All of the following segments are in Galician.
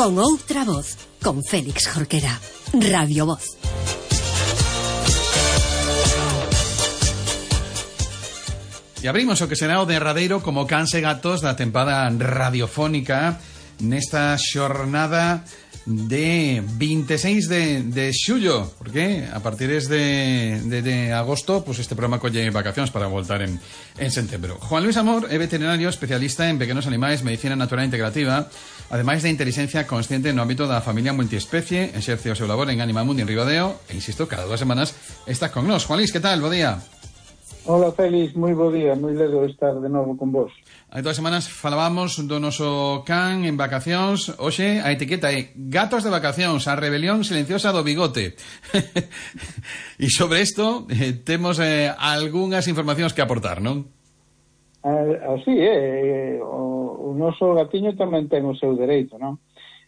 Con outra voz, con Félix Jorquera. Radio Voz. E abrimos o que será o derradeiro como cans e gatos da tempada radiofónica nesta xornada de 26 de xullo, porque a partir de agosto pues este programa colle vacacións para voltar en setembro. Juan Luis Amor é veterinario especialista en pequenos animais, medicina natural integrativa, ademais de inteligencia consciente no ámbito da familia multiespecie, exerce o seu labor en Animal Mundi en Ribadeo e, insisto, cada 2 semanas está con nós. Juan Luis, que tal? Bo día. Hola, Félix, moi bo día, moi ledo estar de novo con vos. Hai 2 semanas falábamos do noso can en vacacións. Hoxe a etiqueta é Gatos de vacacións, a rebelión silenciosa do bigote. E sobre isto temos algunhas informacións que aportar, non? Así é, o noso gatiño tamén ten o seu dereito, non?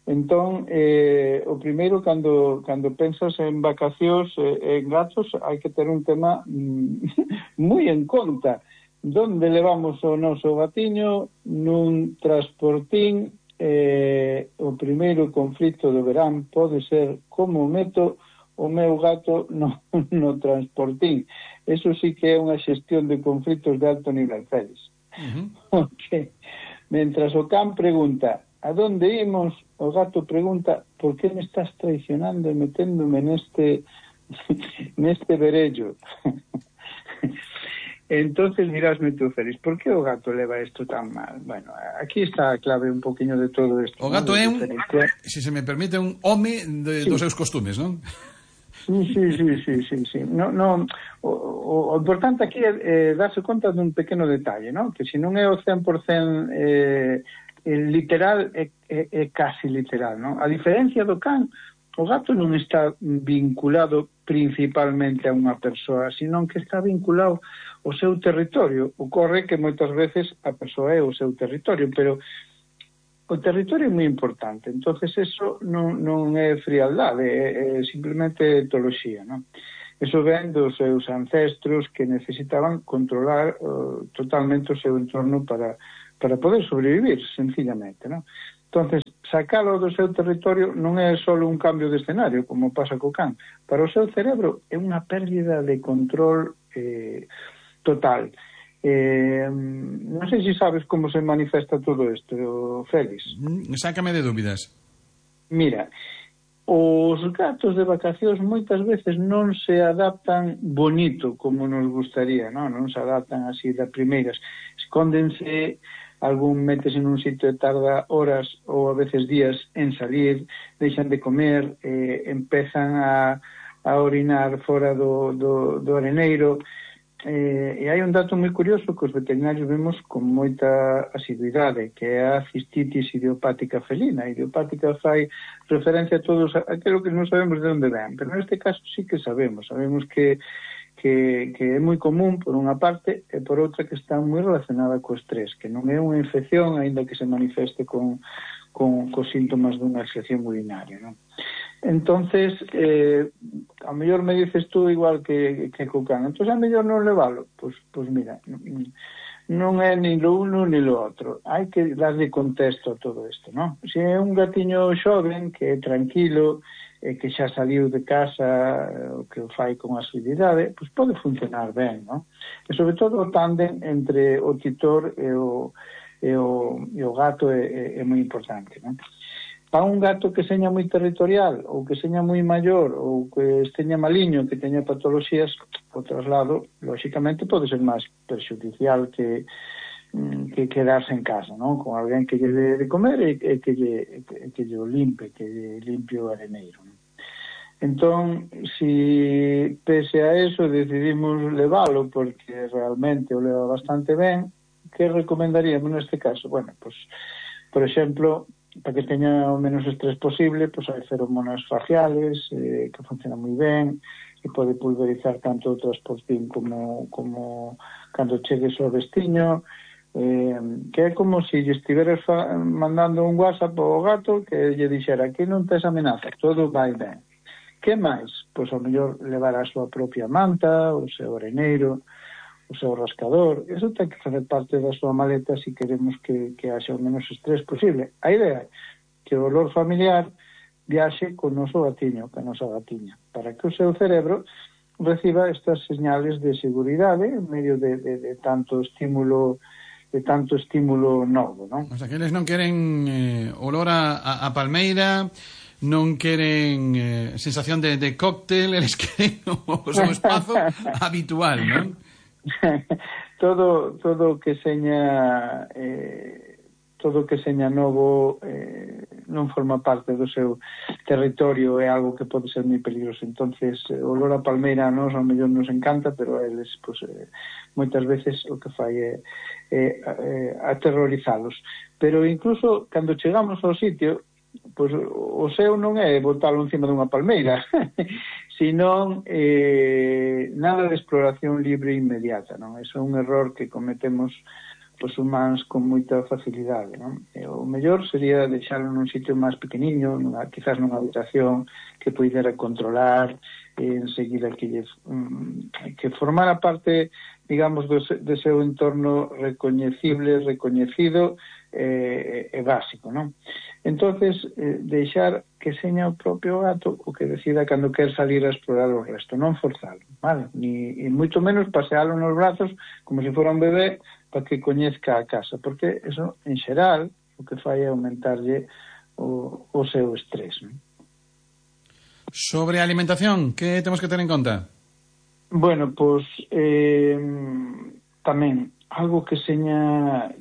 Entón, o primeiro, cando pensas en vacacións en gatos, hai que ter un tema moi en conta. Donde levamos o noso gatiño? Nun transportín. O primeiro conflito do verán pode ser como meto o meu gato no transportín. Eso sí que é unha xestión de conflitos de alto nivel, Félix. Porque, mentras o can pregunta a donde imos, o gato pregunta por que me estás traicionando e meténdome neste verello. Entonces dirásme tú, Félix, por que o gato leva isto tan mal? Bueno, aquí está a clave un poquinho de todo isto. O gato é un, se me permite, un home dos seus costumes, non? Sí. No, o importante aquí é darse conta dun pequeno detalle, non? Que se non é o 100% literal, é casi literal, non? A diferencia do can, o gato non está vinculado principalmente a unha persoa, sino que está vinculado ao seu territorio. Ocorre que moitas veces a persoa é o seu territorio, pero o territorio é moi importante. Entonces eso non é frialdade, é simplemente etoloxía, non? Eso ven dos seus ancestros que necesitaban controlar totalmente o seu entorno para poder sobrevivir, sencillamente, non? Entonces, sacalo do seu territorio non é só un cambio de escenario, como pasa co can. Para o seu cerebro é unha pérdida de control total. Non sei se sabes como se manifesta todo isto, Félix. Sácame de dúbidas. Mira, os gatos de vacacións moitas veces non se adaptan bonito como nos gustaría, non se adaptan así de primeiras. Escóndense, algún métese nun sitio e tarda horas ou a veces días en salir, deixan de comer, empezan a orinar fora do areneiro. E hai un dato moi curioso que os veterinarios vemos con moita asiduidade, que é a cistitis idiopática felina. A idiopática fai referencia a todos aquilo que non sabemos de onde ven, pero neste caso sí que sabemos que é moi común por unha parte e por outra que está moi relacionada co estrés, que non é unha infección, aínda que se manifeste con síntomas dunha infección urinaria, non? Entonces, a mellor me dices tú igual que co can, entón a mellor non levalo. Pois mira, non é ni lo uno ni lo outro, hai que darle contexto a todo isto, non? Se é un gatiño xoven que é tranquilo, que xa saliu de casa, o que o fai con asiduidade, pois pode funcionar ben, non? E sobre todo o tándem entre o titor e o gato é moi importante, non? Para un gato que seña moi territorial ou que seña moi maior ou que esteña maliño, que teña patoloxías, o traslado, lóxicamente, pode ser máis perxudicial que quedarse en casa, non? Con alguén que lle dé de comer e que lle o limpe, que lle limpie o areneiro, non? Entón, si pese a eso decidimos levalo porque realmente o leva bastante ben, que recomendaríamos neste caso? Bueno, pues, por exemplo, para que teña o menos estrés posible, pues hai feromonas faciales que funcionan moi ben, que pode pulverizar tanto o transportín como cando chegues ao destiño, que é como se lle estiveras mandando un WhatsApp ao gato que lle dixera que non tes amenaza, todo vai ben. Que máis? Pois ao mellor levar a súa propia manta, o seu areneiro, o seu rascador. Eso ten que facer parte da súa maleta se queremos que haxa o menos estrés posible. A idea que o olor familiar viaxe co noso gatiño, ca nosa gatiña, para que o seu cerebro reciba estas señales de seguridade en medio de tanto estímulo novo, non? O sea, que eles non queren olor a palmeira, non queren sensación de cóctel, eles queren o seu espazo habitual, non? todo que seña novo non forma parte do seu territorio, é algo que pode ser moi peligroso. Entonces, o olor a palmeira a nós ao mellor nos encanta, pero a eles moitas veces o que fai é aterrorizalos. Pero incluso cando chegamos ao sitio, o seu non é botalo encima dunha palmeira, senón nada de exploración libre e inmediata, non? Eso é un error que cometemos os humanos con moita facilidade, non? O mellor sería deixalo nun sitio máis pequeniño, quizás nunha habitación que pudera controlar, enseguida que formara parte, digamos, do seu entorno recoñecido e básico, non? Entonces, deixar que seña o propio gato o que decida cando quer salir a explorar o resto, non forzalo, vale? Ni moito menos pasealo nos brazos como se fora un bebé para que coñezca a casa, porque eso, en xeral, o que fai é aumentarlle o seu estrés, non? Sobre a alimentación, que temos que ter en conta? Bueno, pois tamén algo que seña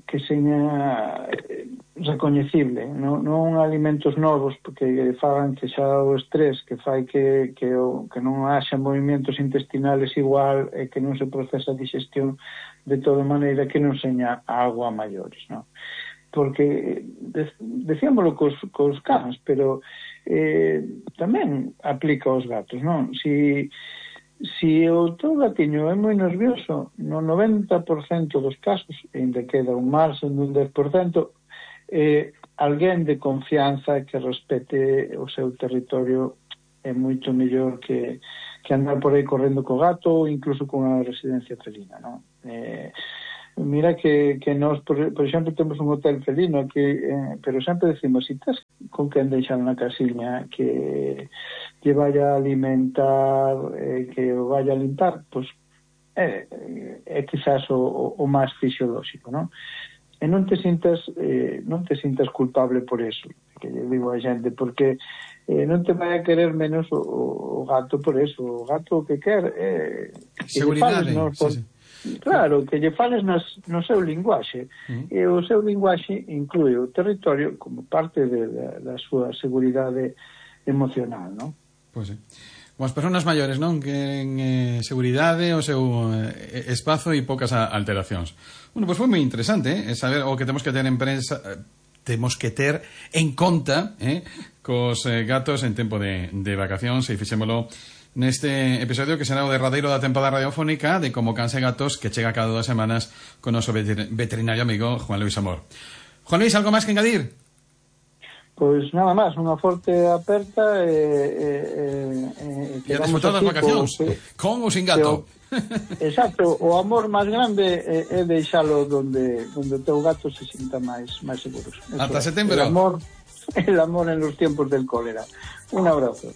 recoñecible, non alimentos novos porque fagan que xa o estrés que fai que non haxa movimentos intestinales igual e que non se procesa a digestión de toda maneira que non seña algo a maiores, non? Porque decíamoslo cos cans, pero tamén aplica aos gatos, non? Si o teu gatiño é moi nervioso, no 90% dos casos, ainda queda un marxen dun 10%, alguén de confianza que respete o seu territorio é moito mellor que andar por aí correndo co gato ou incluso con a residencia felina, non? Mira que nós, por exemplo, temos un hotel felino aquí, pero sempre decimos, si estás con quen deixar na casiña que vaya a alimentar, que o vaya a limpar, pois é quizás o máis fisiolóxico, non? E non te sintas culpable por eso, que eu digo a xente, porque non te vai a querer menos o gato por eso. O gato o que quer é seguridade, sí. Claro, que lle fales no seu linguaxe. E o seu linguaxe inclúe o territorio como parte da súa seguridade emocional, non? Pois sí. Como as persoas maiores, non? Queren seguridade, o seu espazo e poucas alteracións. Bueno, pois foi moi interesante, saber o que temos que ter en conta cos gatos en tempo de vacacións, e fixémolo neste episodio que será o derradeiro da tempada radiofónica de Como Cans e Gatos, que chega cada 2 semanas con o noso veterinario amigo Juan Luis Amor. Juan Luis, algo máis que engadir? Pois nada máis, unha forte aperta e a disfrutar das vacacións con ou sin gato. Exacto, o amor máis grande é deixalo donde o teu gato se sinta máis seguros. Ata setembro. El amor en los tiempos del cólera. Un abrazo.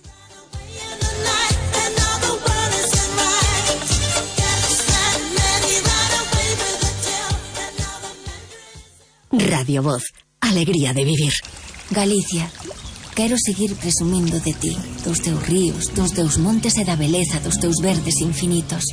Radio Voz, alegría de vivir. Galicia, quero seguir presumindo de ti, dos teus ríos, dos teus montes e da beleza dos teus verdes infinitos.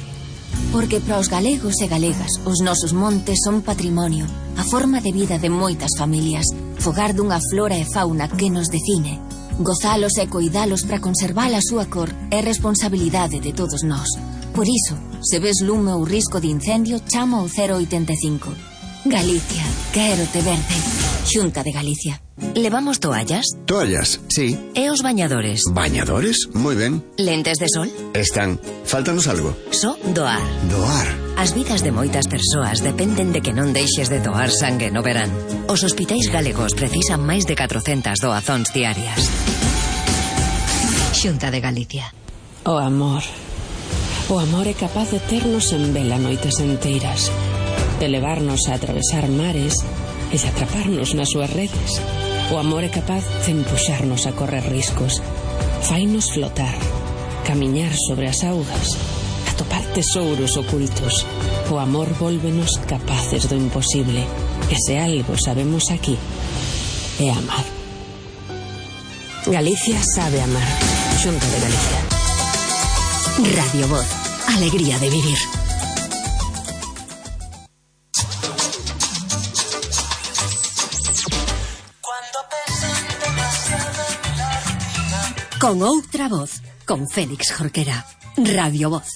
Porque para os galegos e galegas, os nosos montes son patrimonio, a forma de vida de moitas familias, fogar dunha flora e fauna que nos define. Gozalos e coidalos para conservar a súa cor é responsabilidade de todos nós. Por iso, se ves lume ou risco de incendio, chama ao 085. Galicia, quero te verde. Xunta de Galicia. Levamos toallas? Toallas, sí. E os bañadores? ¿Bañadores? Moi ben. Lentes de sol? Están. Faltanos algo. Só doar. Doar. As vidas de moitas persoas dependen de que non deixes de doar sangue no verán. Os hospitais galegos precisan máis de 400 doazóns diarias. Xunta de Galicia. O amor. O amor é capaz de ternos en vela noites enteiras, de levarnos a atravesar mares e de atraparnos nas súas redes. O amor é capaz de empuxarnos a correr riscos. Fainos flotar, camiñar sobre as augas, atopar tesouros ocultos. O amor vólvenos capaces do imposible. E se algo sabemos aquí, é amar. Galicia sabe amar. Xunta de Galicia. Radio Voz, alegría de vivir. Con outra voz, con Félix Jorquera. Radio Voz.